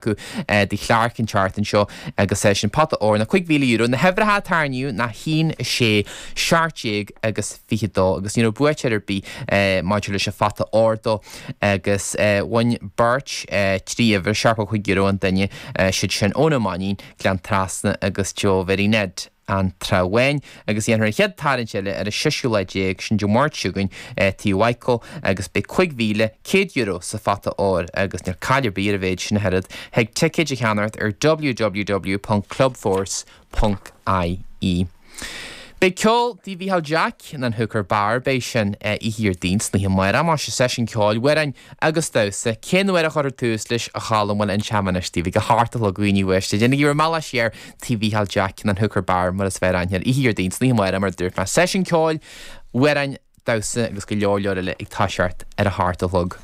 Acu do Chlarke an tseachtain seo agus é sin pota óir ná €5,000. Na huimhreacha a tarraingíodh ná 1, 6, 17 agus 22 agus ní raibh buaiteoir ar bith maidir leis an phota óir dó agus bhain beirt 3 uimhir, €7.5 an duine, siad sin Eoin Ó Mainnín, Gleann Trasna agus Joe Mhary Ned. an Trá Bháin, agus dhéanfar an chéad tarraingt eile ar an seisiú lá déag, sin Dé Máirt seo chugainn, Tigh Mhichael, agus beidh €5,100 sa phota óir, agus níl caill ar bith ar an mhéid sin ach oiread. Thig ticéid a cheannacht ar www.clubforce.ie. Beidh ceol Tigh Mhícheál Jack in An Hooker Bar, beidh sin oíche Dhéardaoin san oíche amárach, más ea, seisiún ceoil, amhráin agus damhsa. Cén uair a chuirfear tús leis, a Cholm? Bhuel, inseoidh mé anois daoibh, ag a hocht a chlog a dhaoine uaisle. Déanaigí bhur mbealach siar Tigh Mhícheál Jack in An Hooker Bar mar is fearr aithne air. Oíche Dhéardaoin san oíche amárach mar a dúirt mé. Seisiún ceoil, amhráin, damhsa agus go leor leor eile ag toiseacht ar a hocht a chlog.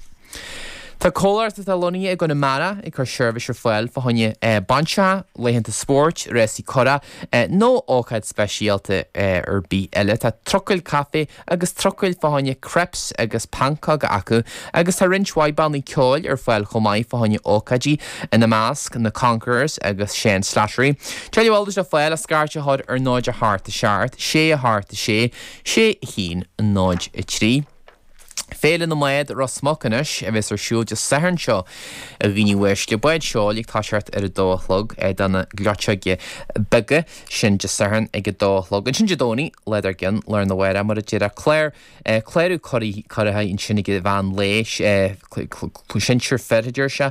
Tá comhlacht atá lonnaithe i gConamara ag cur seirbhís ar fáil fá choinne bainseacha, laethanta spóirt, rásaí curach nó ócáid speisialta ar bith eile. Tá trucail caife agus trucail fá choinne crepes agus pancóga acu agus tá roinnt mhaith bannaí ceoil ar fáil chomh maith fá choinne ócáidí, ina measc, na Conquerors agus Shane Slattery. Tuilleadh eolais le fáil ach scairt a chur ar 0 8 7 6 8 6 6 1 0 3. Féile na mBád Ros Muc anois a bheas ar siúl Dé Sathairn seo a dhaoine uaisle. Báid seoil ag toiseacht ar a dó a chlog do na gleoiteoga beaga. Sin Dé Sathairn ag a dó a chlog. Ansin Dé Domhnaigh, lá dár gcionn, lá arna mhárach, mar a déarfá, clár, clárú curaithe ansin ag an mheán lae, sinsir fir a deir sé,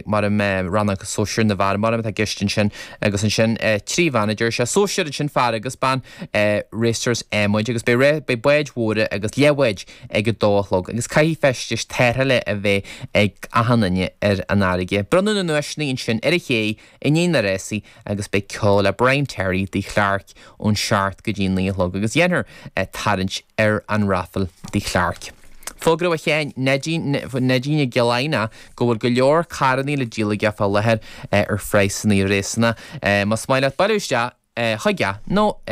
mar a mbeidh rannóg sóisir na bhfear mar atá i gceist ansin agus ansin 3 bhean a deir sé, sóisir ansin fear agus bean, racers adhmaid agus beidh beidh báid mhóra agus leathbháid ag a dó a chlog agus caithfidh feistis tarrthála a bheith ag achan duine ar an fharraige. Bronnadh na nduaiseanna ansin ar an ché i ndiaidh na rásaí agus beidh ceol le Brian Terry Tigh Chlarke ón seacht go dtí an 9 a chlog agus dhéanfar tarraingt ar an raifil Tigh Chlarke. Fógra ó Sheáin Neidín Neidín i gCill Aidhneach go bhfuil go leor carrannaí le díol aige fá láthair ar phraghsannaí réasúnta. Más maith leat bailiú isteach chuige nó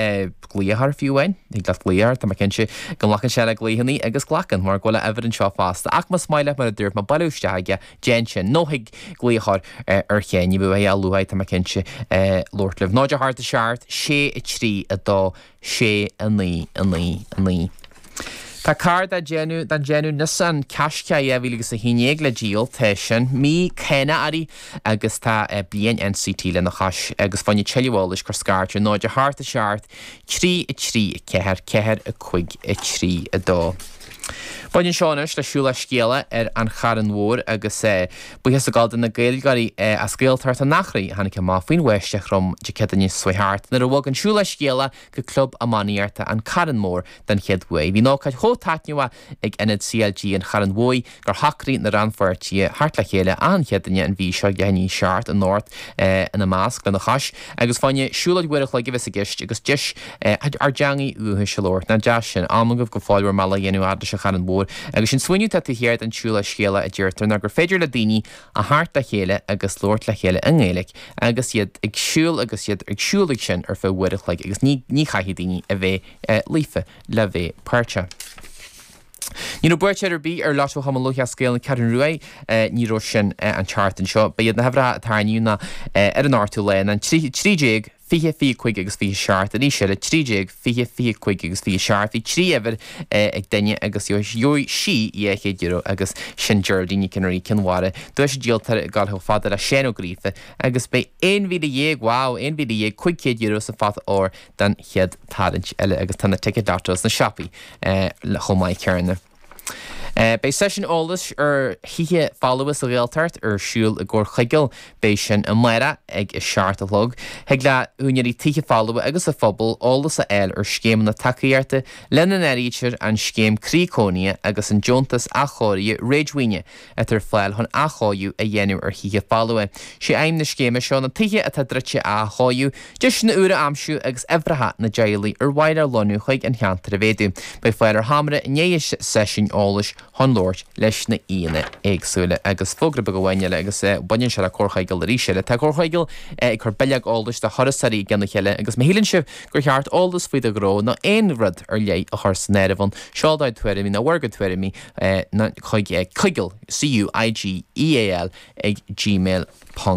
glaoch air fiú amháin, thig leat glaoch air, tá mé cinnte go nglacann sé le glaochannaí agus glacann mar go bhfuil a uimhir anseo fosta. Ach más maith leat mar a dúirt mé bailiú isteach aige, déan sin nó thig glaoch a chur ar Sheáin, ní bheidh a luaithe tá mé cinnte labhairt libh. 0 8 7 6 3 2 6 9 9 9. Tá carr den déanamh den déanamh Nissan Qashqai 2011 le díol, tá sin mí cánach uirthi agus tá bliain NCT lena chois agus fá choinne tuilleadh eolais cuir scairt ar 0 8 7 3 3 4 4 5 3 2. Baineann seo anois le Siúlóid Scéala ar an Charn Mhór agus buíochas ag dul do na Gaeilgeoirí as Gaeltacht an Eachréidh a tháinig amach faoin bháisteach throm Dé Céadaoine seo thart nuair a bhog an Siúlóid Scéala go Club Iománaíochta an Carn Mór den chéad uair. Bhí an ócáid chomh taitneamhach ag Ionad CLG an Chairn Mhóir gur shocraigh na rannpháirtithe theacht le chéile achan Chéadaoine an mhí seo ag leath i ndiaidh a seacht anocht ina measc lena chois agus fá choinne siúlóid uair a chloig a bheas i gceist agus deis ár dteangaidh dhúchais a labhairt. Nach deas sin? Am agaibh go fóill bhur mbealach a dhéanamh fhad leis an Charn Mhór agus sin smaoineamh atá taobh thiar den tsiúlóid scéala a deirtear ná gur féidir le daoine a theacht le chéile agus labhairt le chéile i nGaeilge agus iad ag siúl agus iad ag siúl ag sin ar feadh uair a chloig agus ní ní chaithfidh daoine a bheith líofa le bheith páirteach. Ní raibh buaiteoir ar bith ar Lotto Chumann Lúthchleas Gael na Ceathrún Ruaidh, ní raibh sin an tseachtain seo. Ba iad na huimhreacha a tarraingíodh ná ar an ochtú lá ná an 13, 20, 25 agus 27, arís eile 13, 20, 25 agus 27. Bhí 3 uimhir ag duine agus gheobhaidh sí €200 agus sin Geraldine Nic an Rí, Cionn Mhara. Duais an díoltóra ag dul chomh fada le Seán Ó Gríofa agus beidh 11,000, wow, €11,500 sa phota óir don chéad tarraingt eile agus tá na ticéid lotto sna siopaí chomh maith céanna. Beidh seisiún eolais ar thithe folmha sa Ghaeltacht ar siúl i gComhar Chuigéil. Beidh sin amárach ag a seacht a chlog. Thig le húinéirí tithe folmha agus an phobal eolas a fháil ar scéimeanna tacaíochta, lena n-áirítear an Scéim Croí Cónaithe agus an Deontas Athchóirithe Réadmhaoine. atá ar fáil chun athchóiriú a dhéanamh ar thithe folmha. Sé aidhm na scéime seo na tithe atá druidte a athchóiriú, deiseanna úra a aimsiú agus uimhreacha na dteaghlaigh ar mhaith leo lonnú chuig an cheantar a mhéadú. Beidh fáil ar sheomra i ndiaidh an seisiúin eolais. chun labhairt leis na aíonna éagsúla. Agus fógra beag amháin eile agus baineann sé le Comhar Chuigéil arís eile. Tá Comhar Chuigéil ag cur bileog eolais do thurasóirí i gcionn a chéile agus má shíleann sibh gur cheart eolas faoi do ghnó nó aon rud ar leith a chur san áireamh ann, seol do thuairimí nó bhur gcuid tuairimí chuig cuigeal, C-U-I-G-E-A-L, ag gmail.